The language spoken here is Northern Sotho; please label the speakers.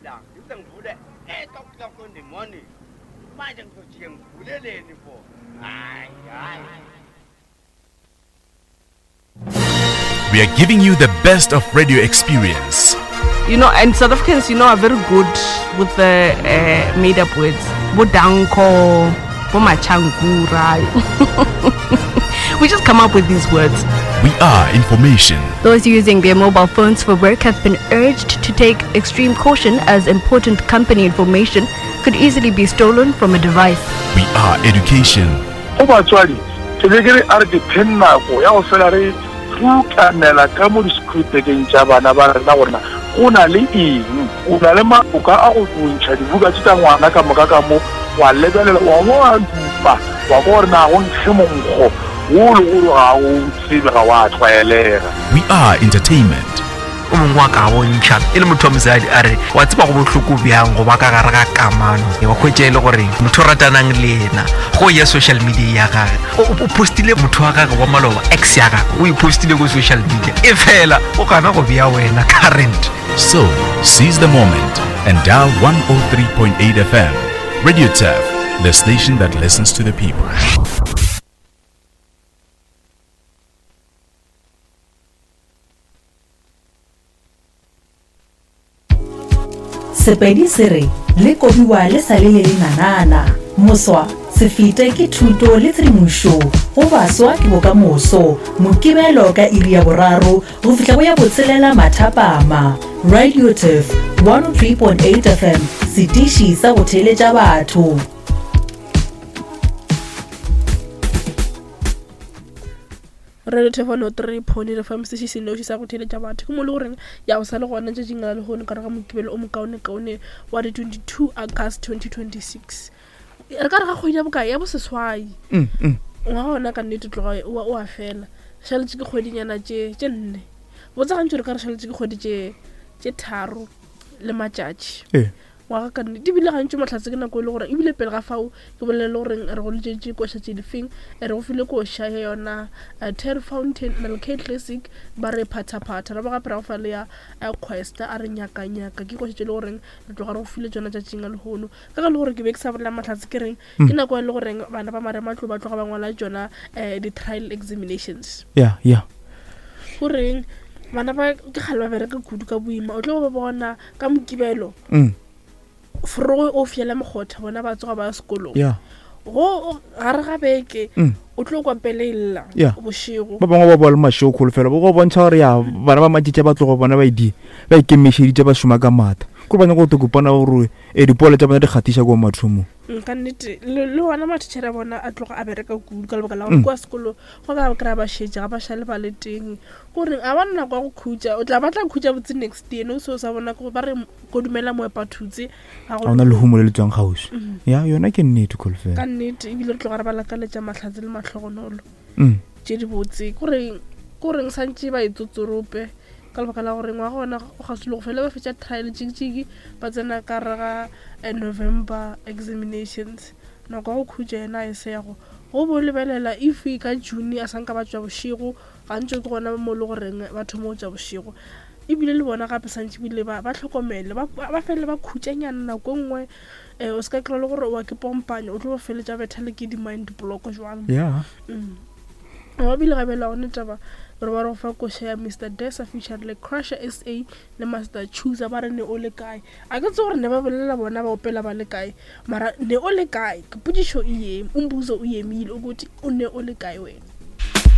Speaker 1: la ngize ngivule 8 o'clock in the morning manje ngizojike ngivuleleni for hayi hayi
Speaker 2: We are giving you the best of radio experience.
Speaker 3: You know, and South Africans, you know, are very good with the uh, made up words. Bodanko, Bomachankura. we just come up with these words.
Speaker 2: We are information.
Speaker 4: Those using their mobile phones for work have been urged to take extreme caution as important company information could easily be stolen from a device.
Speaker 2: We are education.
Speaker 5: Go batswadi, ke be ke re a re dipheng nako ya go fela re rutanela ka mo disekhurupekeng tša bana ba rena gore na go na le eng. O na le maloka a go ntšha dibuka tše tša ngwana ka moka ka mo, wa lebelela, wa bo wa dupa, wa kwa gore na go nkge monkgo wo le gore ga o tsebe, ga wa tlwaelega.
Speaker 2: We are entertainment.
Speaker 6: O mongwe wa ka bontšha e le motho wa mosadi a re wa tseba go bohloko bjang go ba ka gare ga kamano wa hwetša e le gore motho o ratanang le yena go ya social media ya gage o postile motho wa gage wa maloba ex ya gage o e postile ko social media e fela o gana go bea wena current.
Speaker 2: So, seize the moment and dial 103.8 FM. Radio Turf, the station that listens to the people.
Speaker 7: Sepedi se re, Le kobiwa le sa le le lenanana. Moswa, se fete ke thuto le tshedimošo go baswa ke bokamoso. Mokibelo ka iri ya boraro go fihla go ya botshelela mathapama. Radio Turf 103.8 FM, setiši sa go theeletša batho.
Speaker 8: Radio Thefano 3 Pony re fa mosesi senoši sa go theeletša batho ke mo le goreng ya go sa le gona tšatšing la lehono ka re ga mokibelo o mokaonekaone wa di 22 August 2026 re ka re ga kgwedi ya bokae ya boseswai mm, mm. ngwaga ona ka nnete tloga o a fela šaletše ke kgwedinyana tše tše nne botsa gantši re ka re šaletše ke kgwedi tše tše tharo le matšatši ee. Ngwaga ka nnete. Ebile gantši mahlatse ke nako e le gore ebile pele ga fao ke bolele le goreng re go letšetše koša tše difeng re go file koša ya yona eh, Terry Fountain Melk Classic ba re phathaphatha ra ba gape ra go fa le ya eh, Quest a re nyaka nyaka ke koša tše le goreng re tloga re go file tšona tšatšing a lehono ka ge le gore ke be ke sa bolela mahlatse ke reng ke nako e le goreng bana ba marematlou ba tloga ba ngwala tšona eh, di-trial examinations
Speaker 9: ya ya
Speaker 8: goreng bana ba ke kgale ba bereka kudu ka boima o tlo ba bona ka mokibelo mm. forogo o fiela mokgotha bona ba tsoga ba ya sekolong
Speaker 9: yeah.
Speaker 8: go gare ga beke mm. o tlo kwa pele e lla
Speaker 9: yeah.
Speaker 8: bošego
Speaker 9: ba bangwe ba boa le mašego kholofelo bo go bontšha gore ya bana ba matšetša ba tlogo bona ba idi ba ikemišeditše ba šoma ka maatla kore ba nyaka go tokopana gore e dipolo tša bona di kgatiša kwa mathomong
Speaker 8: mm, ka nnete le gona mathišere a bona a tloga a bereka kudu ka lebaka la gore mm. kwa sekolo go ka kry-a ba šetše ga ba šale ba le teng Gore ga ba na nako ya go khutša, o tla ba tla khutša botse next year, no se o sa bona ke ba re ko dumela moepa thutse
Speaker 9: ga go na lehumo le le tswang kgauswi. Mm. Ya yona ke nnete kholofelo.
Speaker 8: Ka nnete ebile re tloga re ba lakaletša mahlatse le mahlogonolo. Mm. Tše di botse. Gore goreng santše ba itsotsorope ka lebaka la gore ngwaga ona o kgauswi le go fela ba fetša trial tšikitšiki ba tsena ka re ga eh, November examinations nako ya go khutša yena e se ya go go bo lebelela if ka June a sanka ba tšwa bošego Gantši ke gona mo e le goreng ba thoma go tša bošego. Ebile le bona gape santše ebile ba ba hlokomele, ba ba felele ba khutšanyana nako e nngwe um o se ka kry-a le gore wa ke pompanya, o tlo ba feletša betha le ke di-mind block jwang.
Speaker 9: Yeah.
Speaker 8: Mm. Wa bile gabe la one taba gore ba re go fa koša ya Mr Desa featured le Crusher SA le Master Chooser ba re ne o le kae. A ke tse gore ne ba bolela bona ba opela ba le kae mara ne o le kae ke potšišo e yeme umbuzo o yemile ukuthi o ne o le kae wena.